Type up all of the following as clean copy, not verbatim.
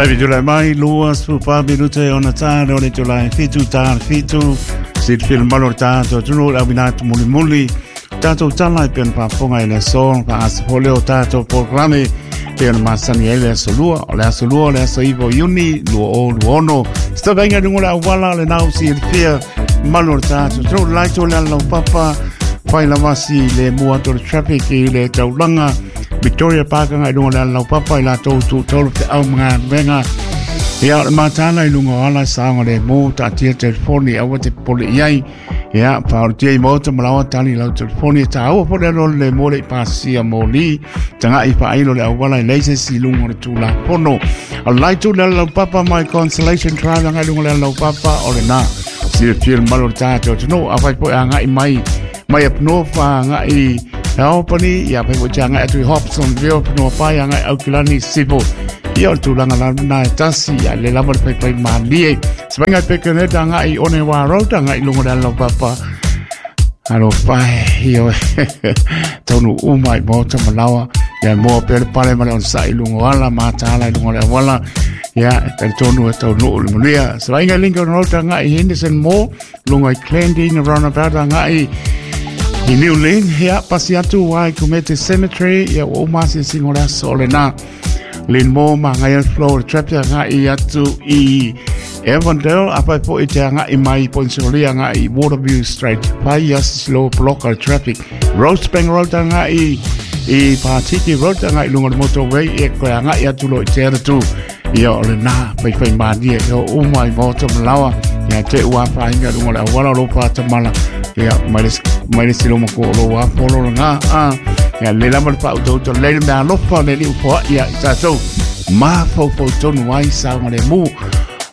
Baby tulai mai 24 minute ona tā le ole tulai 7 tā 7 silafia le mamalu o le tatou atunuu le auina atu mulimuli tatou tala e pei ona faafofoga i le aso faaaso foi lea o tatou polokalame pei ona masani ai le aso lua o le aso lua o le aso 9 o Iuni 2026 se tavaiga i luga o le auala o le nau silafia mamalu o le tatou atunuu le laito le alalaupapa fai lava si le mua atu o le traffic i le taulaga Victoria Park agai i luga o le alalaupapa i latou tutolu feau ma galuega. Ia, o le matala i luga o ala saogalemu, taatia telefoni, aua te popole i ai. Ia, faaolotia i maota ma laoa tali lau telefoni e tāua po le alo le mo le i pasia moli. Taga'i faailo le auala e leai se isi i luga o le Tulafono. O le laitu le alalaupapa mai Consolation Drive agai i luga o le alalaupapa o lena. Silafia le mamalu o le tatou atunuu, afai foi agai mai mai up north agai Albany, ia fai foi te agai atu i Hobsonville, Panoa Pai, agai Aukilani, Sivo. Ia o le tulaga la na e tasi, ia le lava le paipai malie. Se vainga i Pekaneta agai i Onewa Road, agai i luga o le alalaupapa. Alo pai, io taunu uma i maota ma laoa. Ia moa pea le pale ma le onosai i luga o ala, mataala i luga o le auala. Ia, e talitonu e taunuu le manuia. Se vainga i Lincoln Road agai i Henderson Mall, lunga i Clandina Roundabout agai i New Lynn, ia, pasi atu ai Kumete Cemetery, ia, ua uma asiasiga o le aso o lena. Lynn Moore ma ngai al flow le traffic agai atu i Avondale, a pai po i te agai mai Poinsolia agai i Waterview Street. Pai ia slow block al traffic. Rosebank Road agai i Patiki Road agai lunga le motorway e koe agai atu lo i te atu. Ia o lena, fai fai mānie, e o uma i maota malawa, ia te ua whainga runga le awala lo pāta mala, ia mai le, mai le silo mako o lo wā polo la ngā, a, ia le lama le pau tau tau le mea alofa le liu poa ia i tātou, mā fau fau tonu ai saunga le mū,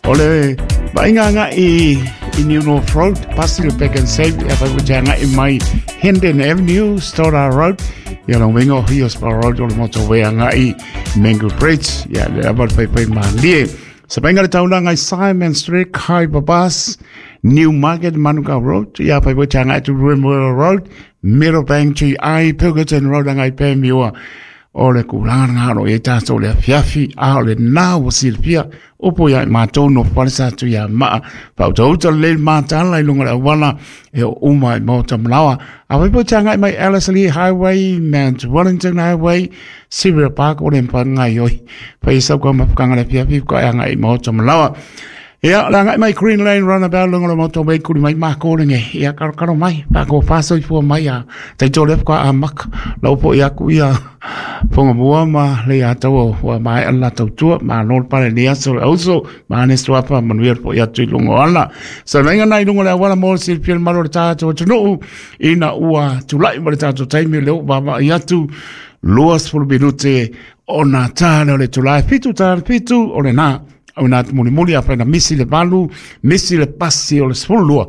o le vainga nga i, i New North Road, pasi le Back and Save, ia fai te anga i mai Hendon Avenue, Stoddard Road, ia lo winga o Hiospa Road o le motorway anga i Mango Bridge, ia le lava le whaiwhai mālie. Sa painga le taulanga i Simon Street, Khyber Bus, New Market, Manukau Road, ia whai wai te atu Remuera Road, Meadowbank GI, Pilkerton Road, angai Pēmiua, o le kūlanga ngā ro e tātou le afiafi, a o le nā ua silafia, Opo ia i mātou no whalesa atu ia maa, whautauta le mātala i lunga le awala, e o uma i maota malawa. A waipo te angai mai Ellerslie Highway, Mount Wellington Highway, Sierra Park, o le mpa ngai oi. Whai sau ka mapukanga le piapi, ka e angai i maota malawa. Ia, le angai mai Green Lane Runabout, lunga le maota wei kuri mai mākōrenge. Ia, karo karo mai, whako whāsoi fua mai a taito le whaka a maka. Lau po i aku ia, Fonga mua ma le ia tau ua mai ala tau tua ma no pale ni aso le auso ma ne suapa manuia po ia tu lungo ala sa venga nai lungo le awala mo si pia malo le tātou atunuu ina ua tulai ma le tātou taimi le o va i atu 20 minute ona tāle o le tulai 7 tāle 7 o le nā au nā mulimuli a whaina misi le valu misi le pasi o le 12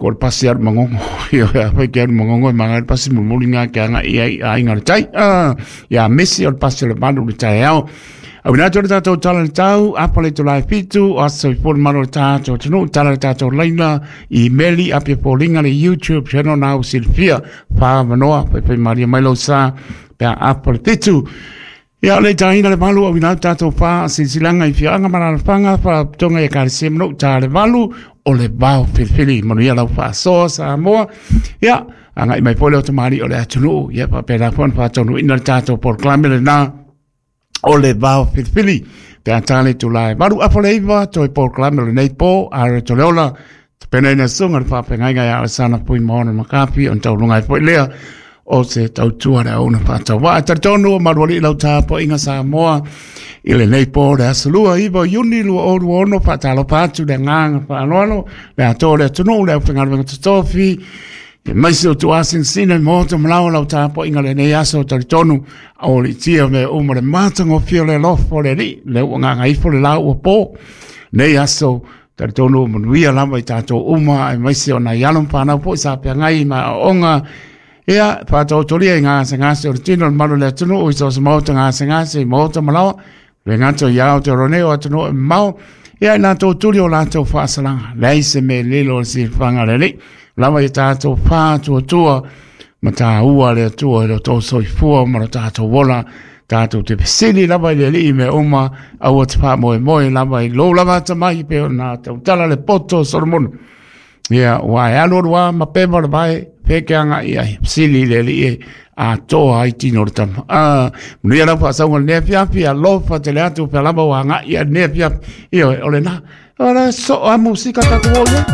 Ko le pasi aru mangongo, ia a whai ke aru mangongo e manga le pasi mulimuli ngā ke anga i ai a inga le tai. Ah, ia mesi o le pasi o le malu le tai ao. Au ina tō le tātou tala le tau, apa le tō lai fitu, o aso i pōle malo le tātou tunu, tala le tātou laina, i meli, apia pōlinga le YouTube channel nā u silfia, whā manoa, whai whai maria mai lau sā, pea apa le fitu. Ia le taina le malu au ina tātou whā silsilanga i whianga mararafanga whatonga i kare manu tā le valu o le vao whiriwhiri manu ia lau whaasoa Samoa. Ia, anga i mai pole o te maari o le atunuu. Ia, whapera pona whātonu ina le tātou polokalame le nā o le vao whiriwhiri. Pea tāle tu lai valu apo le iwa toi polokalame o le nei pō a re to leola. Te pena ina sunga le whāpengainga ia Alessana Pui Maona Makapi on taulunga i poi lea o se tautua le auna whātau. Wa talitonu o maruali lau tāpo inga Samoa i le nei pō le aso lua iwa Iuni 2026 whātalo pātu le ngānga whaanoano le atoa le atunuu le aufaigaluega totofi e maisi o tuasinsina i moto malawa lau tāpo inga le nei aso talitonu o le tia me uma le mātangofia le lofo le li le ua ngānga ifo le lau ua pō nei aso talitonu o manuia lava i tātou uma e maisi o nai alo ma whānau po i sa pea ngai ma onga ia whātautoria i ngā ngase o le tino le malu le atunuu i so se maota ngase ngase i maota malawa le ngato i ao te rone o atunuu e mau ia i lātou tuli o lātou whaasalanga lei se me lilo o si whanga le li lava i tātou whātua tua ma tā ua le atua i lo tō soifua ma lo tātou ola. Tatou te fesili lava i le Alii i mea uma, aua te faamoemoe lava i lou lava atamai, pei ona tautala le poto o Solomona. Ia, ua e alu alu lava ma peva le vae, feke agai i ai, fesili i le Alii e atoa ai tino o le tama. Ah, manuia lau faasauga i lenei afiafi, alofa tele atu pea lava ua agai i lenei afiafi. Ioe, o lena. O le soo a musika tatou o i ai.